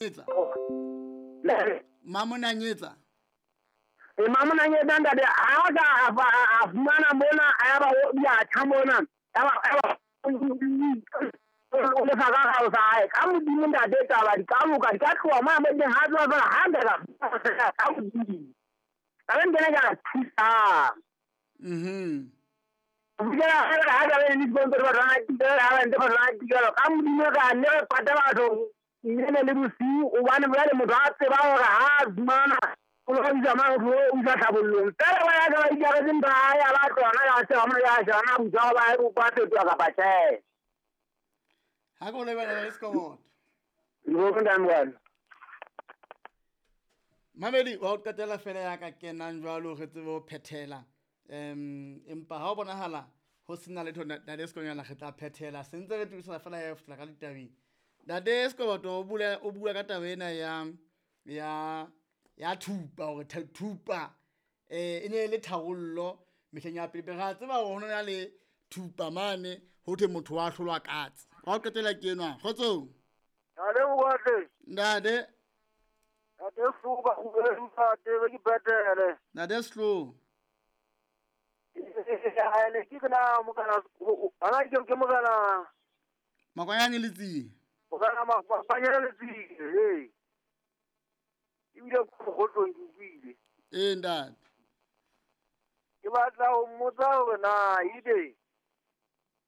Etsa. Mamonanyetsa. E mamonanyetsa ntate ha ka a fumana mona a ba o ya tjha mona. Ya ba o lefa ka ga sa hae ka modimo ntate taba di ka loka di ka tloha mo mo teng ha tloha fela ha nka ka modimo. Ka be nkene ka thusang. Bukela ha ka be ni sponsor ba rana tikela ha ba ntse ba rana tikela ka modimo ka nne re pata batho nnene le bosiu hobane jwale motho a tseba hore ha a fumana o lo isa mang o isa tlhabollong fela ba ya ka ba ikaretse ntho ya ya ba tlona ya tseba mona ya shana botsa ba e ba fetoha kapa tjhe. Ha ko lebala le Sekoboto. Ke ntate. Mamedi wa ho qetela fela ya ka kenang jwalo re tsebe ho phethela. Empa ha o bonahala ho sena letho ntate Sekonyana re tla phethela se ntse re tibisana fela ya fihla ka ditabeng. Ntate Sekoboto o bua ka taba ena ya thupa hore thupa e ne le tharollo mehleng ya pele. Re a tseba hore ho na le thupa mane ho thwe motho wa hlolwa katse. Wa ho qetela ke enwa. Kgotsong. Ntate Mokoatle. Ntate. Ntate Sehloba, ntate be ke phethele. Ntate Sehloba. Ne ke na mokana ana ke mokana Makwanyane Letsie. Mokana Makwanyane Letsie, hey. Ebile ko mogotlong ke utlwile. Ee ntate. Ke batla ho mmotsa hore na ebe